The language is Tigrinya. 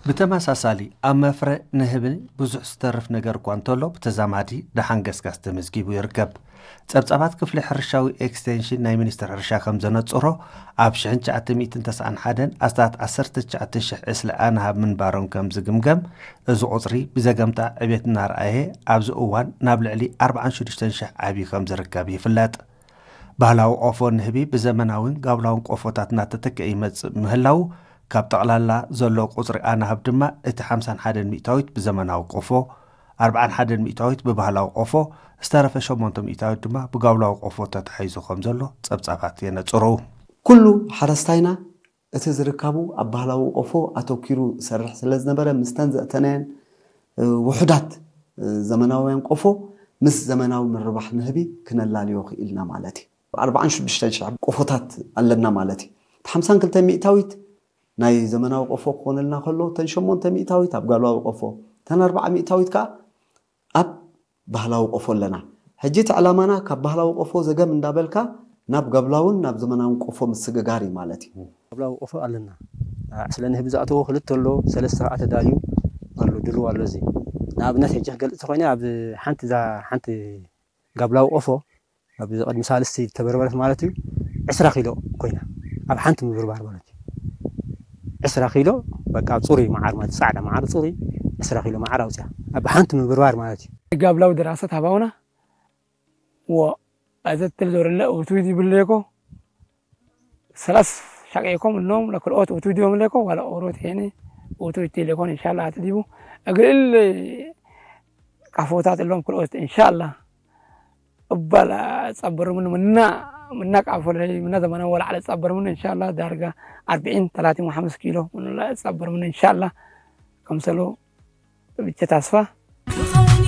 ብተመሳሳሊ ኣብ መፍረ ንህቢ ብዙሕ ዝተርፍ ነገር እኳ እንተሎ ብተዛማዲ ደሓን ገስጋስ ተመዝጊቡ ይርከብ። ጸብጻባት ክፍሊ ሕርሻዊ ኤክስቴንሽን ናይ ሚኒስትር ሕርሻ ከም ዘነጽሮ ኣብ ሽሕን ትሽዓተ ሚእትን ተስዓን ሓደን ኣስታት ዓሰርተ ትሽዓተ ሽሕ ዕስለ ኣናሃብ ምንባሮም ከም ዝግምገም፣ እዚ ቁጽሪ ብዘገምታ ዕቤት እናርኣየ ኣብዚ እዋን ናብ ልዕሊ ኣርባዓን ሽዱሽተን ሽሕ ዓብዩ ከም ዝርከብ ይፍለጥ። ባህላዊ ቆፎ ንህቢ ብዘመናዊን ጋብላውን ቆፎታት እናተተክአ ይመጽእ ምህላው ካብ ጠቕላላ ዘሎ ቁጽሪ ኣናህብ ድማ እቲ ሓምሳን ሓደን ሚእታዊት ብዘመናዊ ቆፎ፣ ኣርባዓን ሓደን ሚእታዊት ብባህላዊ ቆፎ፣ ዝተረፈ ሸሞንተ ሚእታዊት ድማ ብጋብላዊ ቆፎ ተታሒዙ ከም ዘሎ ጸብጻባት የነጽሩ። ኩሉ ሓረስታይና እቲ ዝርካቡ ኣብ ባህላዊ ቆፎ ኣተኪሩ ዝሰርሕ ስለ ዝነበረ፣ ምስተን ዘእተናየን ውሑዳት ዘመናውያን ቆፎ ምስ ዘመናዊ ምርባሕ ንህቢ ክነላልዮ ክኢልና ማለት እዩ። ኣርባዓን ሽዱሽተን ሽሕ ቆፎታት ኣለና ማለት እዩ። ሓምሳን ክልተ ሚእታዊት ናይ ዘመናዊ ቆፎ ክኾነልና ከሎ፣ እተን ሸሞንተ ሚእታዊት ኣብ ጋብላዊ ቆፎ፣ እተን ኣርባዓ ሚእታዊት ከኣ ኣብ ባህላዊ ቆፎ ኣለና። ሕጂ እቲ ዕላማና ካብ ባህላዊ ቆፎ ዘገም እንዳበልካ ናብ ጋብላውን ናብ ዘመናውን ቆፎ ምስግጋር እዩ ማለት እዩ። ጋብላዊ ቆፎ ኣለና። ዕስለ ንህቢ ዝኣተዎ ክልተ ኣሎ፣ ሰለስተ ከዓ ተዳልዩ ኣሎ፣ ድልው ኣሎ። እዚ ንኣብነት ሕጂ ክገልጽ ተኾይነ ኣብ ሓንቲ እዛ ሓንቲ ጋብላዊ ቆፎ ኣብዚ ቅድሚ ሳልስቲ ተበርበረት ማለት እዩ ዕስራ ኪሎ ኮይና ኣብ ሓንቲ ምብርባር ማለት እዩ። ዕስራ ኪሎ በቃ ኣብ ጽሩይ መዓር ማለት ጻዕዳ መዓር ጽሩይ ዕስራ ኪሎ መዓር ኣውፅያ ኣብ ሓንቲ ምብርባር ማለት እዩ። ጋብላዊ ድራሰት ሃባውና ወ ኣዘትል ዞርለ ውትዊት ይብለኮ ሰላስ ሻቀይኮም እሎም ለክልኦት ውትዊት ዮም ለኮ ዋላ ኦሮት ሄኒ ውትዊት ይለኮን ኢንሻላ ኣትዲቡ እግል ቃፎታት እሎም ክልኦት ኢንሻላ እባል ጸበርምን ምና ምና ቃፎ ለይ ምና ዘመና ወላ ዓለ ጸበርምን ኢንሻላ ዳርጋ ኣርብዒን ተላቲን ወሓምስ ኪሎ ምና ጸበርምን ኢንሻላ ከምሰሎ ብቻ ታስፋ